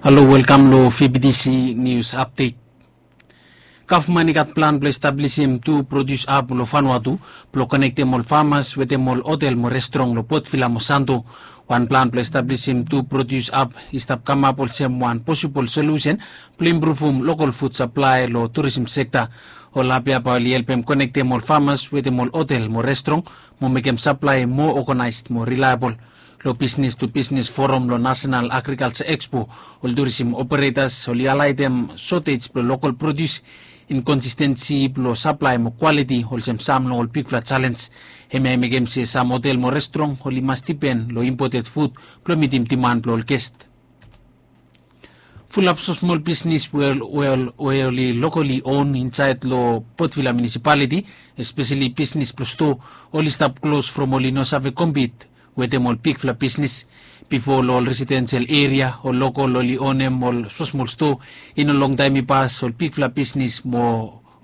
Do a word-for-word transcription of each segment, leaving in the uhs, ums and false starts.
Halo, welkam lo V B T C News Update. Gavman i gat plan blo establisim tu produce hub lo Vanuatu blo konektem ol famas wetem ol hotel mo restrong lo Port Vila mo Santo. Wan plan blo establisim tu produce hub i stap kamap olsem wan posibol solusen blo impruvum lokol food supply lo tourism sekta. Ol hub ya bae oli helpem konektem ol famas wetem ol hotel mo restrong mo mekem supply moa organized mo reliable. Lo Business to Business Forum lo National Agriculture Expo, ol tourism operators oli highlightem shortage blo lokol produce, inconsistency blo supply mo quality olsem sam long ol bigfala challenge. Hemia i mekem se sam hotel mo restrong oli mas dipen lo imported food blo mitim demand blo ol guest. Fulap smosmol bisnis we oli lokoli on insaed lo Port Vila Municipality, espeseli bisnis blo stoa, oli stap klos from oli no save compete wetem ol bigfala bisnis. Bifo lo ol residensel eria ol lokol oli onem ol smosmol stoa. I no longtaem i pas ol bigfala bisnis mo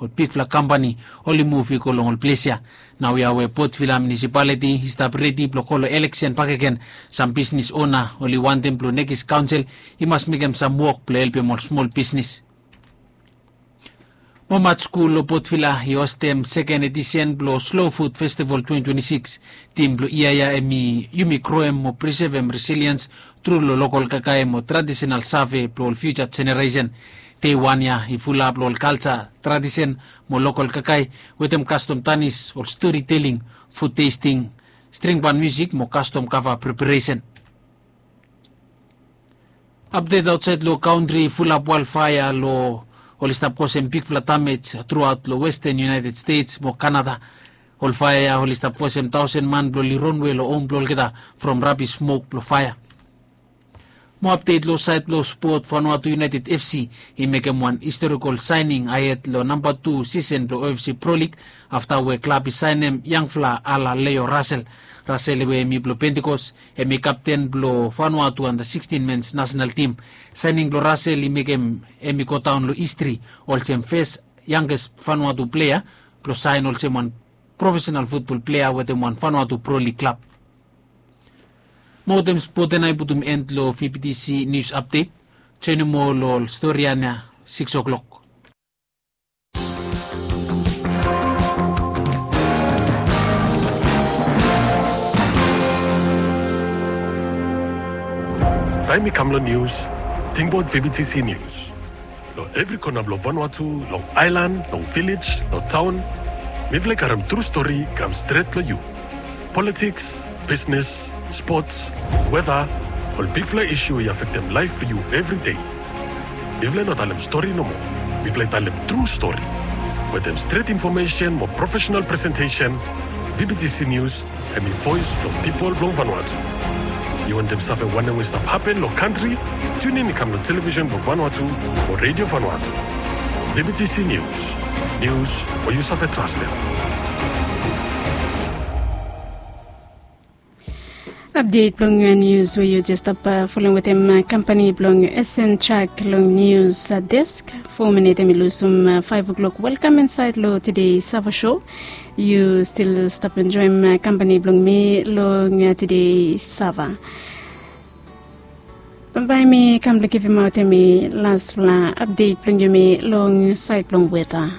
ol bigfala kampani oli muv i go long ol ples ya. Naoia we Port Vila Municipality i stap redi blo go lo eleksen bakegen, sam bisnis ona oli wantem blo nekis kaonsel i mas mekem sam wok blo helpem ol smol bisnis. Momat skul lo Port Vila i hostem seken edisen blo Slow Food Festival twenty twenty-six. Tim blo yia ya hemi yumi groem mo prisevem resiliens tru lo lokol kakae mo tradisenal save blo ol fiuja jeneresen. Dei wan ya i fulap lo ol kalja, tradisen mo lokol kakae wetem kastom tanis, ol stori teling, fud testing, string ban musik mo kastom kava preparesen. Apdet aotsaed lo kantri, fulap walfaea lo oli stap kosem bigfala damej truaot lo Western United States mo Kanada. Ol faea ya oli stap fosem taosen man blo oli ronwe lo hom blo olgeta from rabis smok blo faea. Mo apdet lo saed blo spot, Vanuatu United F C i mekem wan historikol saening ahed lo namba tu sisen blo O F C Pro League afta we klab i saenem yangfala Ala Leo Russell. Russell we hemi blo Pentecost, hemi kapten blo Vanuatu anda sixteen mens nasenal tim. Saening blo Russell i mekem hemi godaon lo histri olsem fes yangges Vanuatu plea blo saen olsem wan profesenal futbol plea wetem wan Vanuatu Pro League klab. Mo wetem spot ya nao i putum end lo V B T C News Update. Joenem moa lo ol stori ya nao sikis o'clock. Taem i kam lo nius, tingbaot V B T C News. Lo evri kona blo Vanuatu, long aelan, long vilej, lo taon, mifala i karem tru stori i kam stret lo yu. Politiks, bisnes, spots, weta, ol bigfala isu i afektem laef blo yu evri dei. Mifala i no talem stori nomo. Mifala i talem tru stori. Wetem stret infomesen mo profesenal presentesen, V B T C News hemi voes blo pipol blo Vanuatu. Yu wantem save wanem we i stap hapen lo kantri? Tiunin i kam lo televisen blo Vanuatu o Redio Vanuatu. V B T C News. Nius we yu save trastem. Apdet blong nius we yu jes stap, uh, folem wetem, uh, kampani blong S N Chak long nius, uh, desk. Fo minit hemi lusum, uh, faef o'clock. Welkam insaed lo tede Sava Show. Yu stil stap enjoem, uh, kampani blong mi long, uh, tede Sava. Bae mi kam blong givimaot hemi lasfala apdet blong yumi long saed blong weta.